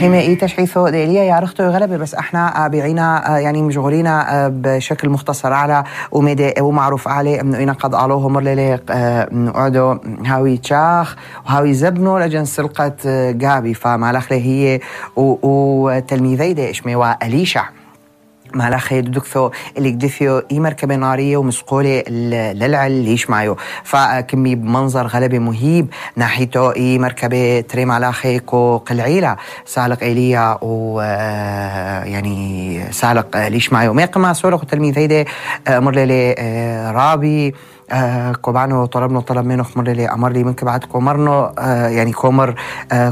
رحيمة إيتا شعيثو ديليا يا رختو غلبة بس احنا بيعينا يعني مشغولينا بشكل مختصر على ومعروف عليه انه إنا قد قالوه مرلي نقعدوا هاوي تشاخ وهاوي زبنو لجن سلقة جابي فمالخلي هي وتلميذي دي اشمي وأليشع مالخي دكثو اللي قدثيو اي مركبة نارية ومسقولة للعل ليش معيو فكمي بمنظر غلبة مهيب ناحيتو اي مركبة تري مالخي كو قلعيلة سالق ايليا و يعني سالق ليش معيو ميقما سولق تلميذي دي مرلي رابي كوبانو طلب منه مرلي أمر لي منك بعد كومرنو يعني كومر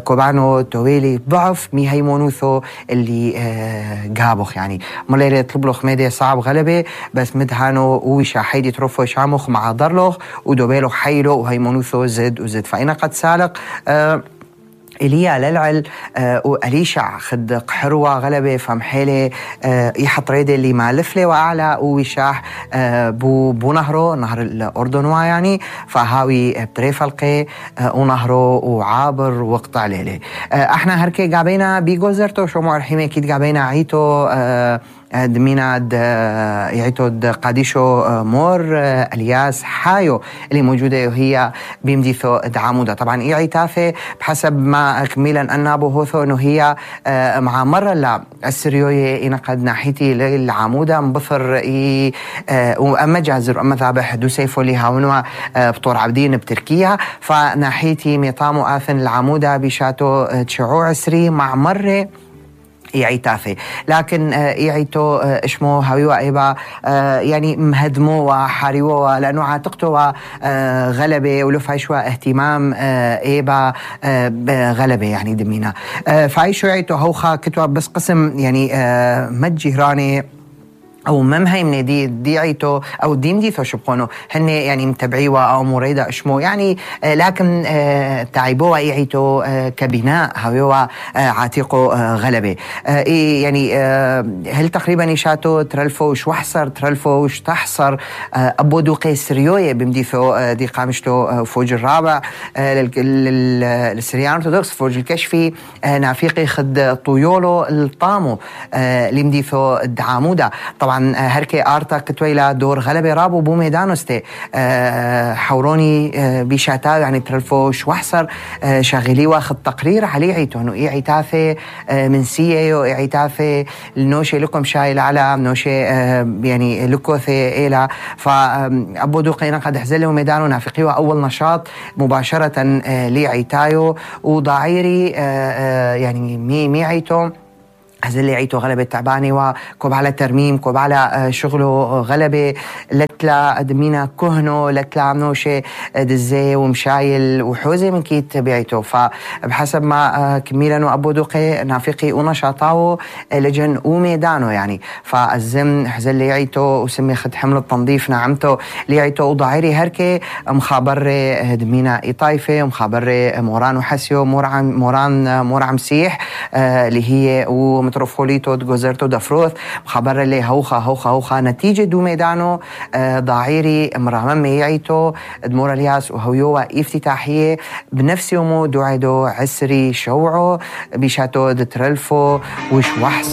كوبانو تويلي ضعف مي هيمونوثو اللي جابوخ يعني مرلي يطلب له خميدي صعب غلبة بس مدهانو ويشا حيدي تروفو شامخ مع ضرلوخ ودوبيلو حيلو وهيمونوثو زد فإنا قد سالق إليا للعل وأليشع خد قحروة غلبة فمحيلة يحط ريدي اللي مالفلة وأعلى ويشاح بو نهره نهر الأردن يعني فهاوي بتريفلقي ونهره وعابر وقطع ليلة احنا هركي قابينا بيقوزرتو شو معرحيمة كيد قابينا عيتو دمينا يعيتو قاديشو مور الياس حايو اللي موجودة وهي بيمديثو دعامودة طبعا اي عيتافة بحسب ما كميلا أنابو هوثو انه هي مع مرة لا السريوية إنا قد ناحيتي للعامودة مبثر وأما جازر وأما ذابح دو سيفو لي هاونوا بطور عبدين بتركيا فناحيتي ميطامو آثن العامودة بشاتو تشعو عسري مع مرة يعيتافي لكن يعيتو اشمو هاويوا ايبا يعني مهدمو وحاريو لانه عاتقتو غلبة ولفايشوا اهتمام ايبا غلبة يعني دمينا فايشو يعيتو هوخا كتوا بس قسم يعني متجهراني او ممهي من دي عيتو او ديمديثو شبقونو هن يعني متبعيوا او مريدة اشمو يعني لكن تعيبوا يعيتو كبناء هاويوا عاتقو غلبة يعني هل تقريبا يشاتو ترلفوش وحصر ترلفوش تحصر ابو دوقي سريوية بمديثو دي قامشتو فوج الرابع للسريان ارتودوكس فوج الكشفي نافيقي خد طيولو الطامو لمديثو الدعامودة طبعا هركي آرتا كتويلا دور غلبة رابو بو ميدانوستي حوروني بيشاتاو يعني ترلفوش وحصر شاغلي واخد تقرير عليه عيتو انو اي عيتاثي من سيئيو اي عيتاثي النوشي لكم شايل على نوشي يعني لكوثي إيلا فأبو دوقينا قد حزله ميدانو نافقيو أول نشاط مباشرة لي عيتايو وضعيري يعني مي عيتو هزلي عيتو غلبة تعباني وكوب على ترميم كوب على شغله غلبة لتلا دمينا كهنو لتلا عمنوشي دزي ومشايل وحوزي من كيت بيعيتو فبحسب ما كميلا وأبو دوقي نافقي ونشاطاو لجن وميدانو يعني فالزم هزلي عيتو وسمي خد حمل التنظيف نعمتو لي عيتو وضعيري هركي مخابر دمينا إطايفة ومخابر موران وحسيو موران مسيح اللي هي متروفوليتو جوزرتو دفروث مخبر اللي هوخا نتيجة دو ميدانو ضعيري مرامم يعيتو دمور الياس وهويوا افتتاحية بنفس يومو دوعدو عسري شوعو بيشاتو دترلفو وش وحس